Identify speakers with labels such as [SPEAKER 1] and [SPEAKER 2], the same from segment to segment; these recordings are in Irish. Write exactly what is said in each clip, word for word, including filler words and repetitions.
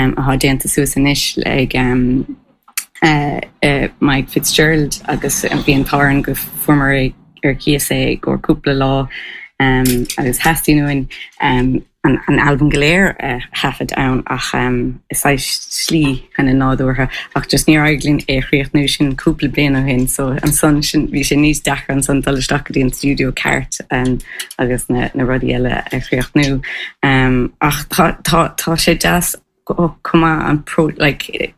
[SPEAKER 1] um, atá déanta suas anois ag um, uh, uh, Mike Fitzgerald agus bhí an t-ádh orainn go bhfuaireamar ar cíos é go cúpla lá um, agus theastaigh uainn um, an, an album go léir uh, thaifead ann ach um, is slí chun nádúrtha ach just níor éirigh linn é chríochnú sin cúpla bliain ó shin so ansan sin bhí sé níos deacra ansan dul isteach go dtí an studio ceart um, agus na, na rudaí eile a chríochnú um, ach tá, tá, tá sé deas cuma an pro like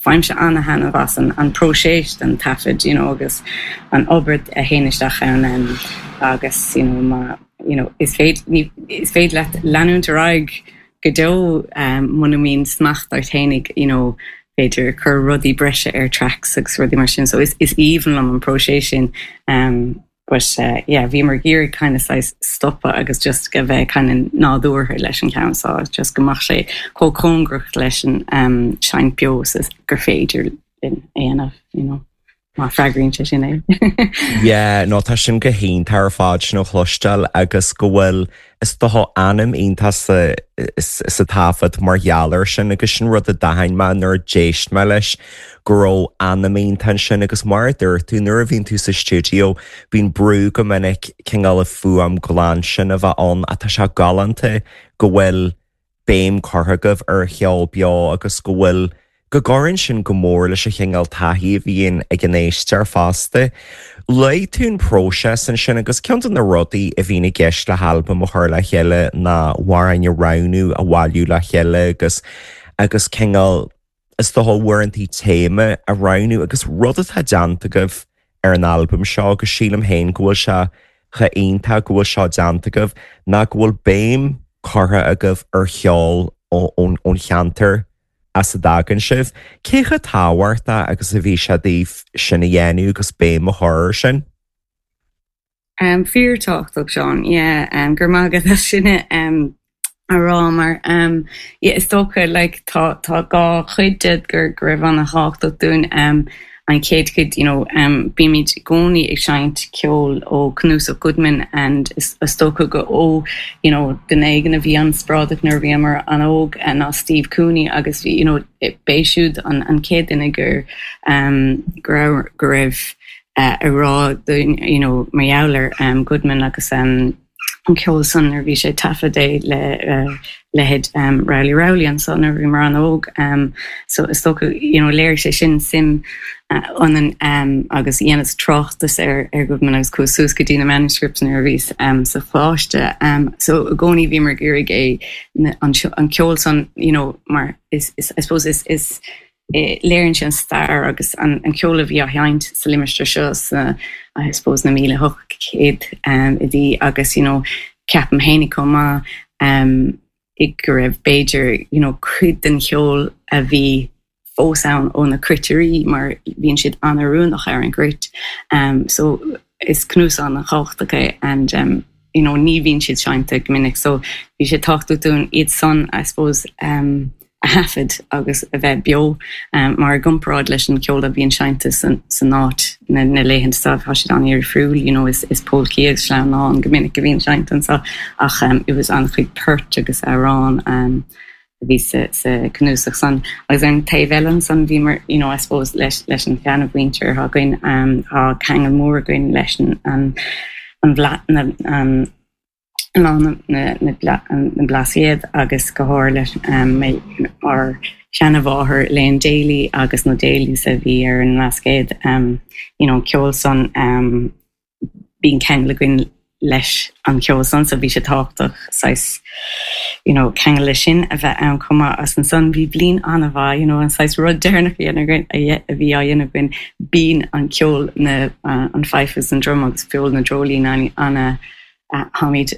[SPEAKER 1] faighimse an-taitneamh as an an próiseas den taifead you know, agus an obair a théann isteach ann um, agus you know, má you know, is féidir is féidir leat leanúint ar aghaidh go deo um, muna mbíonn smacht ort fhéinig you know, b'fhéidir cur rudaí breise ar tracks agus rudaí mar sin so is, is aoibhinn liom an próiseas sin um, but uh, yeah, bhí mar géir kind of size stopa agus just go bheith kind of nádúrtha leis an ceann so just go mbeadh sé chomh cóngarach leis an um, seinnt beo gur féidir linn é dhéanamh you know. má freagraíonn sé sin é.
[SPEAKER 2] Yeah, no tá sin go hiontach ar fad sin a chloisteáil agus go bhfuil is dócha anam iontach sa sa taifead mar gheall air sin agus sin rud a d'aithin mé nuair a d'éist mé leis go raibh anam iontach sin agus mar a dúirt tú nuair a bhíonn tú sa studio bíonn brú go minic cineál fuaim glan sin a bheith ann atá sé galánta go bhfuil béim curtha agaibh ar cheol beo agus go bhfuil go gcuireann sin go mór leis an chineál taithí a bhíonn ag an éisteoir fosta. Luaigh tú an próiseas ansin agus ceann de na rudaí a bhíonn i gceist le halbam a chur le chéile ná amhráin a roghnú a bhailiú le chéile agus agus cineál is dócha uaireanta téama a roghnú agus rud atá déanta agaibh ar an albam seo agus sílim féin go bhfuil sé chomh hiontach go bhfuil seo déanta agaibh ná go bhfuil béim curtha agaibh ar cheol ón cheantar as a dtagann sibh. Cé chomh tábhachtach agus a bhí sé daoibh sin a dhéanamh agus béim a chur sin?
[SPEAKER 1] Um, Fíorthábhachtach Seán, yeah, um, gur maith agat sin um, a rá mar um, yeah, is dócha like, tá tá dhá chuid de gur go raibh an-tábhachtach dúinn um, an chéad chuid you know, um, bímid i gcónaí ag seinnt ceol ó cnuasach Goodman and is, is dócha go ó you know, duine éigin a bhí an-inspioráideach nuair bhíomar an-óg ná Steve Cooney agus bhí you know, b'é siúd an, an chéad duine gur um, go go raibh uh, a rá you know, mar gheall ar um, Goodman agus um, an ceol san ar bhí sé taifead é le uh, leithéid um, Rowley Rowley ansan nuair bhíomar an-óg um, so is dócha you know, léirigh sé sin suim uh, ionainn um, agus dheineas tráchtas ar ar Goodman agus chuas suas go dtí na manuscripts nuair a bhíos um, sa choláiste um, so i gcónaí bhíomar ag iarraidh é an, an ceol san you know, mar is, is, I suppose is, is léiríonn sé an stair agus an, an ceol a bhí á sheinnt sa limistéar seo sa I suppose na míle hocht céad um, idí agus you know, ceapaim féin chomh maith um, i go raibh b'fhéidir you know, cuid den cheol a bhí fós ann ó na cruitirí mar bhíonn siad an-oiriúnach ar an gcruit. Um, so is cnuasach an-tábhachtach é and um, you know, ní bhíonn siad seinnte go minic, so bhí sé tábhachtach dúinn iad san I suppose um, a thaifead agus a bheith beo um, mar gcomparáid leis an ceol a bhíonn seinnte san, san áit na, na laethanta seo tá siad an-difriúil you know, is, is polcaí agus sleamhnáin go minic a bhíonn seinnte anseo ach um, it was an-chuid port agus amhrán um, a bhí sa, sa cnuasach san agus an taobh eile san bhí mar you know, I suppose leis, leis an seanmhuintir againn um, tá ceangal mór againn leis an, an, an bhla, na, um, lá na, na, na, na Blascaod agus go háirithe leis um, ár seanmháthair Elaine Daly agus na Daly's a bhí ar an mBlascaod um, you know, ceol san um, bíonn ceangal againn leis an ceol san so bhí sé tábhachtach saghas you know, ceangal leis sin a bheith ann chomh maith as ansan bhí bliain an-mhaith you know, an saghas rud deireanach a bhí á dhéanamh againn bíonn an ceol na uh, an fife an drum agus ceol na dreoilín an táimid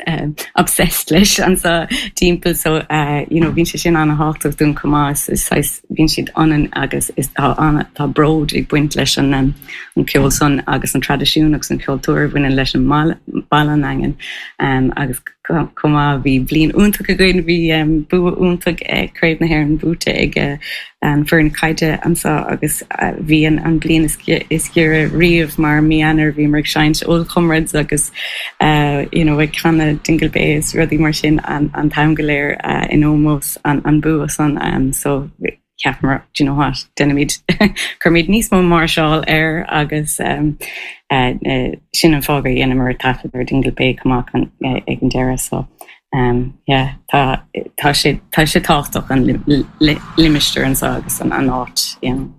[SPEAKER 1] um, obsessed leis anseo timpeall so uh, you know, bíonn sé sin an-tábhachtach dúinn chomh maith bíonn siad ionainn agus is tá tá bród ag baint leis an um, an ceol san agus an traidisiún agus an cultúr bhaineann leis an baile an Daingean um, agus chomh maith bhí bliain iontach againn bhí um, bua iontach ag Craobh na hÉireann buaite ag uh, an foireann caide anseo agus uh, bhí an, an bliain is, is giorra riamh mar mí Eanáir bhí ag seinnt Old Comrades agus uh, you know, ag canadh Dingle Bay is rudaí mar sin an, an t-am go léir uh, in ómós an, an bua san um, so cheapamar do you know what déanaimid cuirimid níos mó máirseáil air agus um, uh, uh, sin an fáth gur dheineamar taifead ar Dingle Bay amach an, uh, ag an deireadh so um, yeah, tá tá sé tá sé tábhachtach an limistéar anseo agus an an áit you know.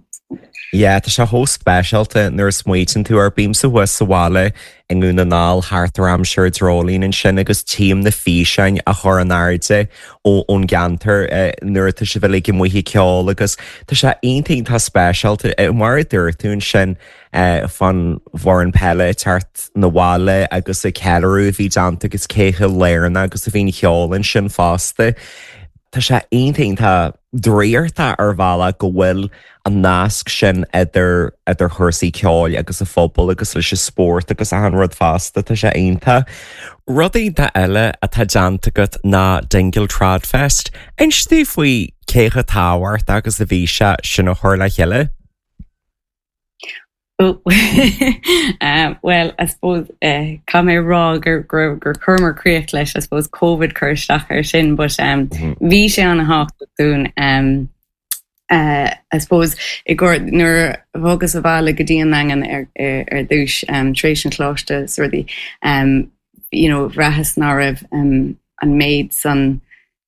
[SPEAKER 2] Yeah, tá sé chomh speisialta nuair a smaoiníonn tú ar bímse thuas sa bhaile i nDún na nGall thart ar aimsir dreoilín ansin agus tím na físeáin a chur in airde ó ón gceantar nuair atá sibh uilig amuigh ag ceol agus tá sé iontach tá speisialta mar a dúirt tú ansin fan bhfoireann peile teacht 'na bhaile agus a ceiliúradh a bhí déanta agus cé chomh lárnach agus a bhíonn ceol ansin fosta. Tá sé iontach draíochta ar bhealach go bhfuil an nasc sin idir idir chúrsaí ceoil agus a phobal agus leis an spórt agus an rud fosta tá sé iontach. Rud iontach eile atá déanta agat ná Dingle Tradfest, Inis dúinn faoi cé chomh tábhachtach agus a bhí sé sin a chur le chéile?
[SPEAKER 1] Oh. um, well, I suppose uh, caithfidh mé rá gur gur gur chuireamar críoch leis I suppose COVID cur isteach ar sin, but um, mm -hmm. bhí sé an-tábhachtach dúinn um, uh, I suppose i gur nuair a bhogas abhaile go dtí an Daingean ar, ar, ar dtús um, tar éis an choláiste is rudaí um, you know, bhraitheas nach raibh um, an méid san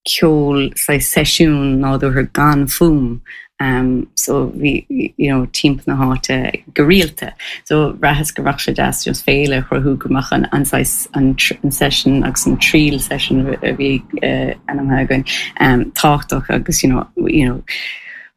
[SPEAKER 1] ceol sa seisiún nádúrtha gan fuaim um, so bhí you know, timpeall na háite go rialta. So bhraitheas go raibh sé deas just féile a chruthú go mbeadh an an, an, an session agus an triail session a bhí uh, ainmnithe againn um, tábhachtach agus you know, you know,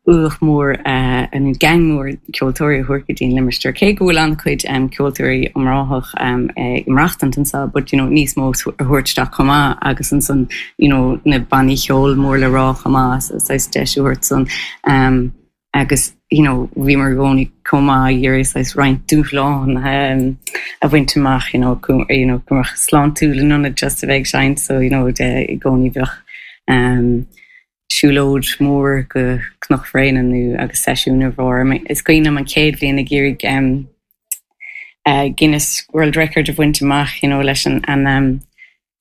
[SPEAKER 1] uach mór uh, an gang mór ceoltóirí thuirce dtín limistéar cé go bhfuil an-chuid um, ceoltóirí iomráiteach um, ag maireachtáil anseo, but you know, níos mó a thabhairt isteach chomh maith agus ansan you know, na bannaí ceoil mór le rá chomh maith so deis a thabhairt san um, agus you know, bhí mar gcóí comá dhéir roinnt dúshlán um, a bhaint amach you know, you know, go mbeadh sláintiúil in ionad just a bheith ag seinnt so you know, de, i gcónaí bheadh um, siúlóid mór go Cnoc Bhréanainn nó agus seisiún ar bharr. Is cuimhin liom an chéad bhliain ag iarraidh um, uh, Guinness World Record a bhaint amach you know, leis an, an um,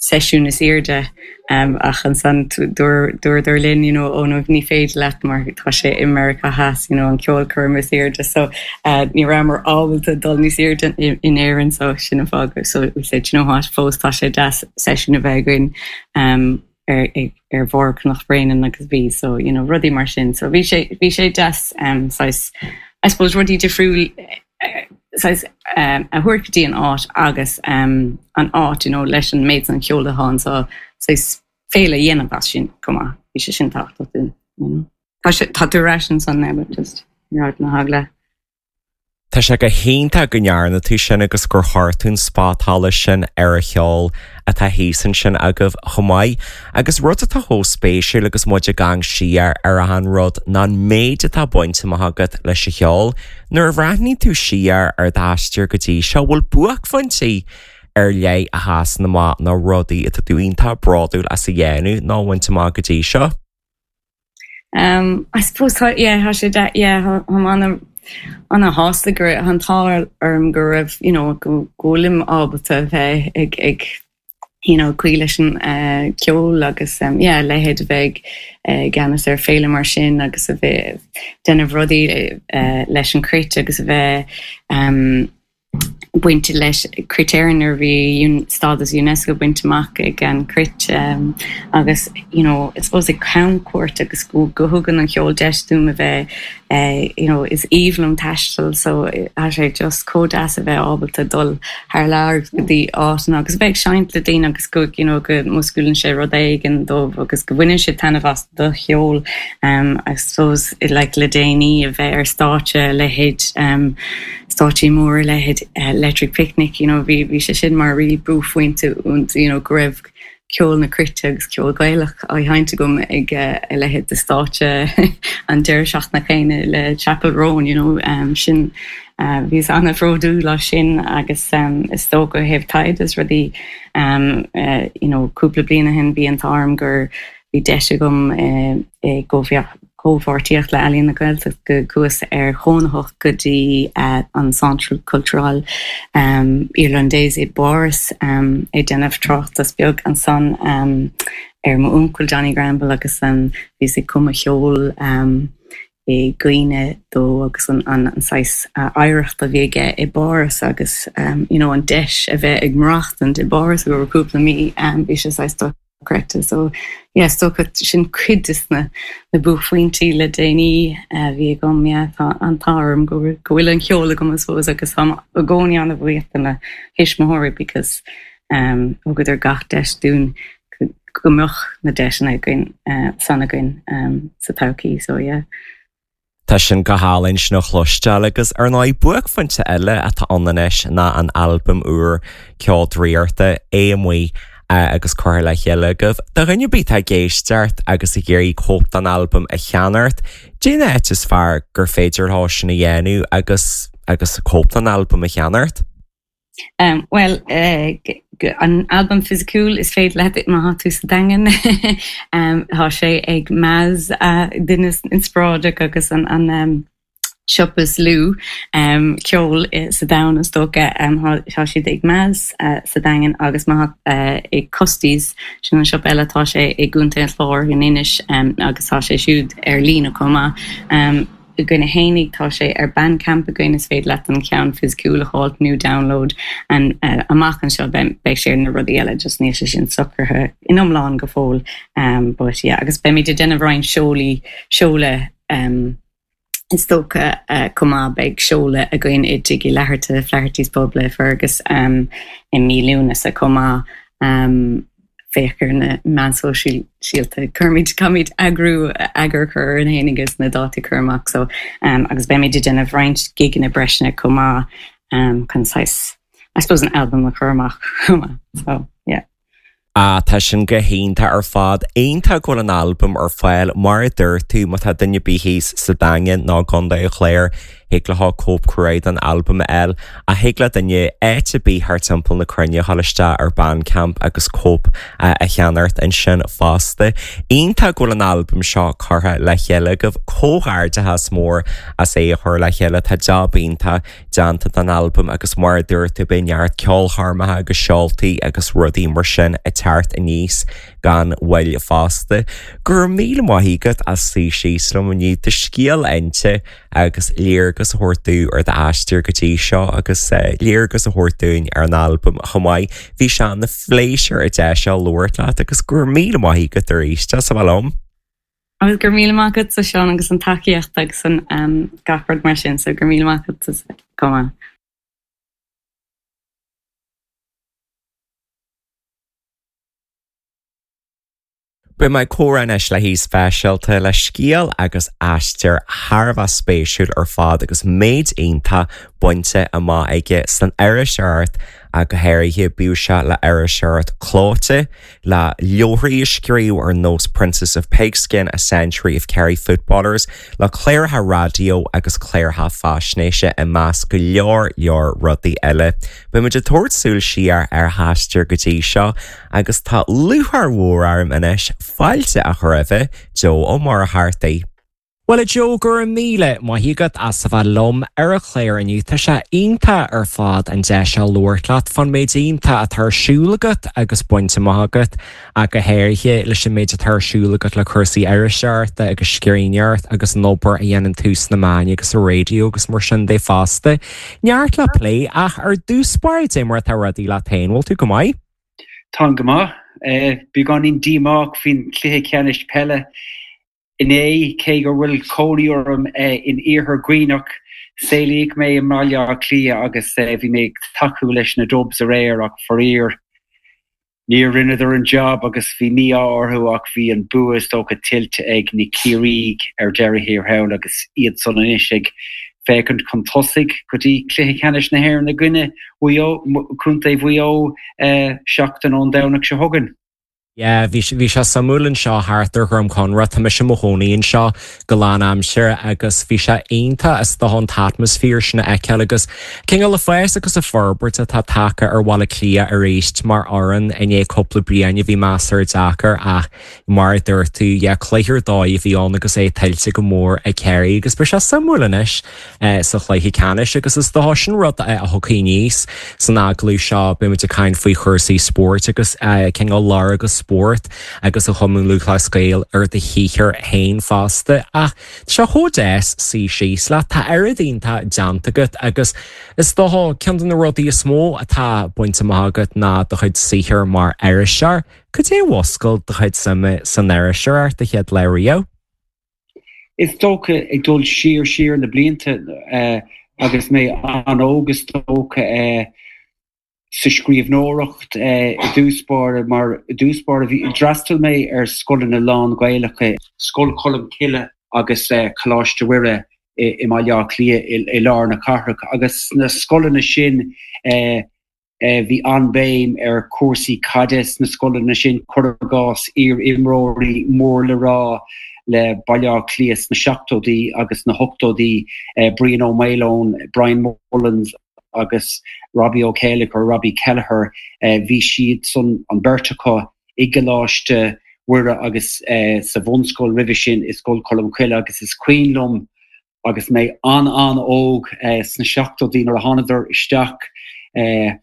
[SPEAKER 1] seisiún is airde um, ach ansan dúradar linn you know, ó nó ní féidir leat mar tá sé i Meiriceá Theas you know, an ceolchoirm is airde so uh, ní rabhamar ábalta dul níos airde in, in Éirinn so sin an fáth so we said you know what fós tá sé deas seisiún a bheith againn um, ar ar bharr Chnoc Bréanainn agus bhí so you know rudaí mar sin so bhí sé bhí sé deas um, saghas I suppose rudaí difriúil uh, saghas um, a thabhairt go dtí an áit agus um, an áit you know, leis an méid an ceol atá ann so saghas féile a dhéanamh as sin chomh maith bhí sé sin tábhachtach dúinn you know. Tá sé tá tú ration san ne just na hagla.
[SPEAKER 2] Tá sé go hiontach go ndearna tú sin agus gur chuir tú an spotsolas sin ar an cheol atá thíos ansin agaibh chomh maith, agus rud atá chomh spéisiúil agus muid ag amharc siar ar an rud ná an méid atá bainte amach agat leis an cheol, nuair a bhreathnaíonn tú siar ar d'aistear go dtí seo bhfuil buaicphointí ar leith a sheasann amach nó rudaí atá tú iontach bródúil as a dhéanamh nó bhaint amach go dtí seo.
[SPEAKER 1] Um, I suppose tá yeah, tá sé de yeah, an an-shásta gur an t-ádh orm go raibh you know, go bhfuilim ábalta bheith ag ag you know, cloí leis an uh, ceol agus um, yeah, leithéid a bheith uh, ceannas ar féile mar sin agus a bheith déanamh rudaí uh, leis an Cruit agus a bheith um, bainte leis Cruit Éireann ar bhí stádas UNESCO bainte amach ag an Cruit um, agus you know, I suppose ag camchuairt agus go go thugann an ceol deis dom a bheith uh, you know, is aoibhinn liom taisteal so tá sé just chomh deas a bheith ábalta dul thar lear go dtí áiteanna agus bheith seinnt le daoine agus go you know, go músclaíonn sé rud éigin dóibh agus go bhaineann sé taitneamh as do cheol um, I suppose like le déanaí a bheith ar stáitse leithéid um, stáitsí mór leithéid uh, Electric Picnic you know, bhí bhí sé sin mar rí buaicphointe you know, go raibh ceol na cruite agus ceol Gaelach á sheinnt agam ag a leithéid de stáitse an deireadh seachtaine céanna le Chappell Roan you know um, sin uh, bhíos an-bhródúil as sin agus um, is dócha ó thaobh taighde is rudaí um, uh, you know, cúpla bliain ó shin bhí an t-ádh orm gur bhí deis agam uh, i gcomhpháirtíocht le Ealaín na Gaeltachta go gcuas ar chónaitheacht go dtí uh, an Centre Culturel um, Irlandais i bPáras um, ag déanamh tráchtas beag ansan um, ar m'uncail Johnny Granville agus um, bhíos ag cumadh ceol um, i gcuimhne dó agus an, an, an saghas uh, oidhreacht a bhí aige i bPáras agus um, you know, an deis a bheith ag maireachtaint i bPáras go cúpla mí um, bhí sé saghas dochreidte so yeah, so sin cuid de na na buaicphointí le déanaí uh, bhí agam yeah, tá an t-ádh orm go go bhfuil an ceol agam fós agus táim i gcónaí an-bhuíoch do mo thuismitheoirí because um, thugadar gach deis dúinn go mbeadh na deiseanna againn uh, san againn um, sa todhchaí so yeah.
[SPEAKER 2] Tá sin go hálainn sin a chloisteáil agus ar ndóigh buaicphointe eile atá ann anois ná an albam úr Ceol Draíochta é amuigh agus curtha le chéile agaibh. Do dhuine ar bith atá ag éisteacht agus ag iarraidh cóip den albam a cheannacht, cén áit is fearr gur féidir leo sin a dhéanamh agus agus cóip den albam a cheannacht?
[SPEAKER 1] Um, well uh, an album fisiciúil is féidir leat má tá tú sa Daingean um, tá sé ag Maz uh, duine inspioráideach agus an, an um, siopa is lú um, ceol sa domhan is dócha um, tá siad ag Maz uh, sa Daingean agus má uh, ag Custies sin an siopa eile tá sé i gContae an Chláir in Inis um, agus tá sé siúd ar líne chomh maith. Um, againne fhéinig tá sé ar Bandcamp againn is féidir leat an ceann fisiciúil a fháil nó download an uh, amach anseo beidh sé na rudaí eile just níl sé sin socraithe in iomlán go fóill um, but yeah, agus beimid ag déanamh roinnt seolaí seoladh um, is dócha uh, chomh maith beidh seoladh againn i dTigh Uí Fhlatharta Flaherty's Pub le Fergus um, i mí Lúnasa chomh maith um, féach ar na meáin shóisialta cuirfimid caithfimid eagrú eagar chur an héin agus na dátaí chur amach so um, agus beimid ag déanamh roinnt gigeanna breise chomh maith um, chun saghas I suppose an album a chur amach so yeah.
[SPEAKER 2] Ah tá sin go hiontach ar fad iontach go bhfuil an albam ar fáil mar a dúirt tú má tá duine ar bith thíos sa Daingean nó Contae an Chláir thig leo cóip crua den albam a fháil a thig le duine áit ar bith thar timpeall na cruinne a dhul isteach ar Bandcamp agus cóip a cheannacht ansin fosta. Iontach go bhfuil an albam seo curtha le chéile agaibh comhghairdeachas mór as é a chur le chéile tá jab iontach déanta den albam agus mar a dúirt tú beidh neart ceolchoirmeacha agus seoltaí agus rudaí mar sin ag teacht aníos gan mhoill fosta. Gur míle maith agat as suí síos liom inniu do scéal a inse agus léargas a thabhairt dúinn ar d'aistear go dtí seo agus léargas a thabhairt dúinn ar an albam chomh maith. Bhí sé ina phléisiúr a deis seo labhairt leat agus gur míle maith agat arís as a bheith liom.
[SPEAKER 1] Agus gur míle maith agat a Seán agus an tacaíocht agus an um, gach rud mar sin, so gur míle maith agat go maith.
[SPEAKER 2] Beidh mé ag comhrá anois le haoi speisialta le scéal agus aistear thar a bheith spéisiúil ar fad agus méid iontach bainte amach aige san iriseoireacht ach go háirithe bíodh sé le iriseoireacht chlóite, le leabharthaí a scríobh ar nós Princess of Pigskin, A Century of Kerry Footballers, le cláracha raidió agus cláracha faisnéise i measc go leor leor rudaí eile. Beidh muid ag tabhairt súil siar ar a haistear go dtí seo agus tá lúcháir mhór orm anois fáilte a chur roimhe, Joe Ó Muircheartaigh. Bhuel a Joe, go raibh míle maith agat as a bheith liom ar an chlár inniu. Tá sé iontach ar fad an deis seo labhairt leat fán méid iontach atá ar siúl agat agus bainte amach agat, ach go háirithe leis an méid atá ar siúl agat le cúrsaí iriseoireachta agus scríbhneoireacht agus an obair a dhéanann tú sna meáin agus sa raidió agus mar sin de fosta. Neart le plé ach ar dtús báire cad é mar atá rudaí leat féin, bhfuil tú go maith?
[SPEAKER 3] Táim go maith. Beagáinín díomách faoin chluiche ceannais peile Inné, cé go bhfuil cónaí orm in iarthar Dhuibhneach, saolaíodh mé i mBaile Átha Cliath agus bhí mé ag tacú leis na Dubs aréir ach faraor, níor rinneadar an job agus bhí mí-ádh orthu ach bhí an bua is dócha tuillte ag na Ciarraígh ar deireadh thiar thall agus iad san anois ag féachaint chun tosaigh go dtí cluiche ceannais na hÉireann i gcoinne Mhaigh Eo, Contae Mhaigh Eo seachtain ón Domhnach seo chugainn.
[SPEAKER 2] Yeah, bhí bhí sé suimiúil anseo thart ar Dhroim Conrach tá mise i mo chónaí anseo go lánaimseartha agus bhí sé iontach is dócha an t-atmaisféar sin a fheiceáil agus cineál an fás agus an fhorbairt atá tagtha ar Bhaile Átha Cliath arís mar fhoireann i ndiaidh cúpla bliain a bhí measartha deacair ach mar a dúirt tú yeah, cluiche ar dóigh a bhí ann agus é tuillte go mór ag Kerry agus beidh sé suimiúil anois eh, sa chluiche ceannais agus is dócha sin rud eh, a thiocfaidh aníos san agallamh seo beimid ag caint faoi chúrsaí spóirt agus eh, cineál lorg an spóirt agus an Chumann Lúthchleas Gael ar do shaothar féin fosta ach tá sé chomh deas suí síos leat tá oiread iontach déanta agat agus is dócha ceann de na rudaí is mó atá bainte amach agat ná do chuid saothair mar iriseoir, Cad é a mhúscail do chuid suime san iriseoireacht an chéad lá riamh?
[SPEAKER 3] Is dócha ag dul siar siar na blianta uh, agus mé an-óg is dócha uh, sa scríbhneoireacht uh, i dtús báire mar i dtús báire bhí d'fhreastail mé ar scoileanna lán-Ghaelacha Scoil Cholm Cille agus uh, Coláiste Mhuire i, i Mbaile Átha Cliath i, i lár na cathrach agus na scoileanna sin uh, uh, bhí an-bhéim ar cúrsaí caide sna scoileanna sin cuir i gcás iar-imreoirí mór le rá le Baile Átha Cliath sna seachtóidí agus na hochtóidí uh, Brian Ó Maoileoin, Brian Mullins agus Robbie Ó Céileachair Robbie Kelleher uh, bhí siad san an bheirt acu i gColáiste Mhuire agus uh, sa bhunscoil roimhe sin i Scoil Cholm Cille agus is cuimhin liom agus mé an an-óg uh, sna seachtóidí nuair a thánadar isteach uh,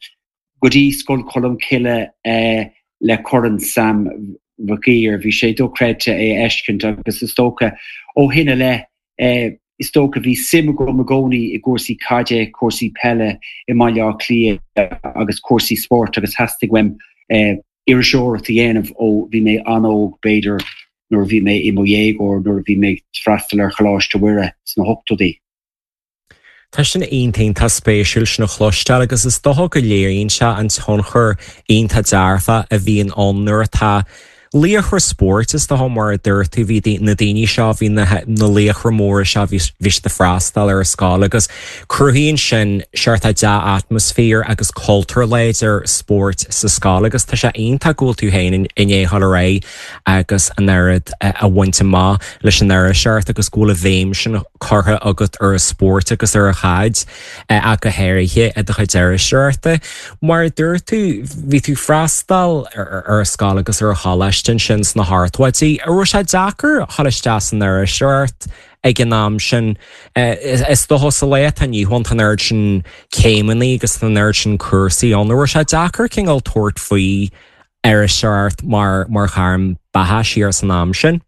[SPEAKER 3] go dtí Scoil Cholm Cille uh, le Corn Sam Mhig Uidhir bhí sé dochreidte é a fheiscint agus is dócha ó shin i leith uh, is dócha bhí suim agam i gcónaí i gcúrsaí caide cúrsaí peile i Mbaile Átha Cliath agus cúrsaí spóirt agus theastaigh uaim uh, iriseoireacht a dhéanamh ó bhí mé an-óg b'fhéidir nuair bhí mé i mo dhéagóir nuair bhí mé freastal ar Choláiste Mhuire sna hochtóidí.
[SPEAKER 2] Tá sin iontach spéisiúil sin a chloisteáil agus is dócha go léiríonn sé an tionchar iontach dearfach a bhíonn ann nuair atá laochra spóirt is dócha mar a dúirt tú bhí na daoine seo bhí na na laochra móra seo bhí siad ag freastal ar an scoil agus cruthaíonn sin seort dea-atmaisféar agus cultúr láidir spóirt sa scoil agus tá sé iontach go bhfuil tú féin i ndiaidh dul ar aghaidh agus an oiread a bhaint amach leis an iriseoireacht agus go bhfuil an bhéim sin curtha agat ar an spórt agus ar an chaid ach go háirithe i do chuid iriseoireachta. Mar dúirt tú bhí tú freastal ar ar an scoil agus ar an choláiste sin sna hochtóidí, an raibh sé deacair dul isteach san iriseoireacht ag an am sin is dócha sa lá atá inniu ann an oiread sin céimeanna agus an oiread sin cúrsaí an raibh sé deacair cineál tabhairt faoi iriseoireacht mar mar ghairm beatha siar san am sin?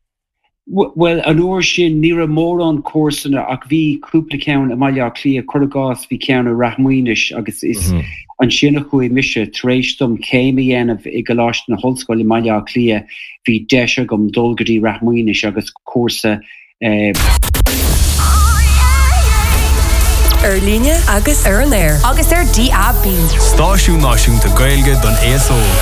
[SPEAKER 3] Well an uair sin ní raibh mórán cúrsanna ach bhí cúpla ceann i Mbaile Átha Cliath cuir i gcás bhí ceann i Rath Maoinis agus is mm -hmm. ansin a chuaigh mise tar éis dom céim a dhéanamh i gColáiste na hOllscoile i Mbaile Átha Cliath bhí deis agam dul go dtí Rath Maoinis agus cúrsa eh,
[SPEAKER 4] Ar líne agus ar an aer.
[SPEAKER 5] Agus ar DAB.
[SPEAKER 6] Stáisiún Náisiúnta Gaeilge don aos óg.